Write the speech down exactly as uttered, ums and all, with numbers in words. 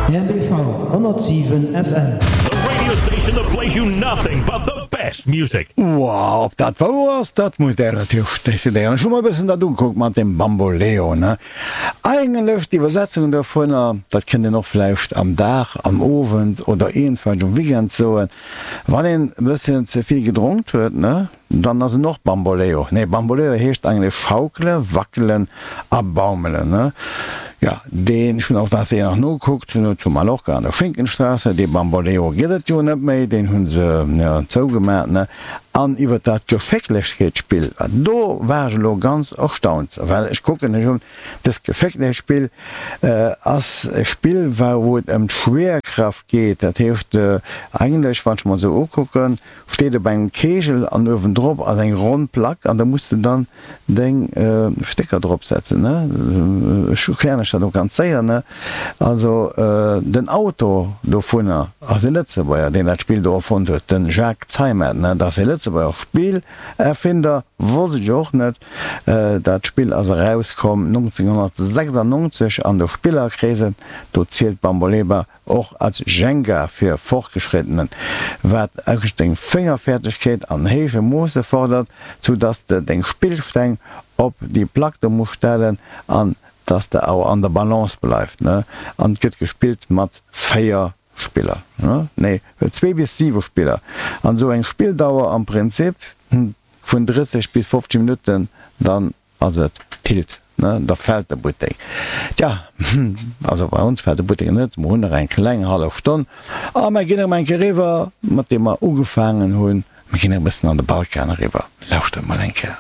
R B V honnertsiwen F M. The radio station that plays you nothing but the best music. Wow, ob dat wouer ass, dat musst Där natierlech decidéieren. Ech hu mer e bëssen dat ugekuckt mat dem Bamboleo, ne? Eigentlech d'Iwwersetzung dovunner, dat kënnt een och vläicht am Dag, am Owend oder iergendswelch um Weekend soen, wann een e bësschen ze vill gedronkt huet, ne? Dann ass en och Bamboleo. Nee, Bamboleo heescht eigentlech schaukele, wackelen a baumelen, ne? Jo, deen, ech hunn och dat nach nogekuckt, zu Mallorca an der Schinkenstraße, dee Bamboleo gëtt et jo net méi, deen hu se jo zougemaach, ne? An iwwer dat Geschécklechkeetsspill, do war ech elo ganz erstaunt, well ech kucken, ech hunn dëst Geschécklechkeetsspill ass e Spill, wou et ëm d'Schwerkraft geet, dat heescht eigentlech, wann ech mer esou ukucken, steet op engem Kegel an uewendrop ass eng ronn Plack an da muss de dann deng Stécker drop setzen, ne? Ech erklären lech dat och ganz séier, ne? Also den Autor dovunner ass e Lëtzebuerger, deen dat Spill do erfonnt huet, de Jacques Zeimet, ne? Dat ass e Lëtzebuerger Spillerfinder, wosst ech och net. Dat Spill ass erauskomm nonzénghonnertsechsannonzeg an de Spillerkreesen, do zielt Bamboleba och als Jenga fir Fortgeschrittenen, wat eigentlech deng Féngerfäerdegkeet an héije Moosse fordert, sou dass de deng Spillsteng op déi Plack do muss stellen an dass de awer an der Balance bleift, ne? An et gëtt gespillt mat véier Spiller, ne? Nee, zwee bis siwe Spiller an esou eng Spilldauer am Prinzip vun drësseg bis fofzeg Minutten, dann ass et tilt, ne, da fält de Buttek. Tja, also bei ons fält de Buttek net, mer hunn nach eng kleng hallef Stonn a mer ginn erëm eng Kéier eriwwer, mat deem mer ugefaangen hunn, mer ginn e bëssen an de Balkan eriwwer. Lauschtert mol eng Kéier.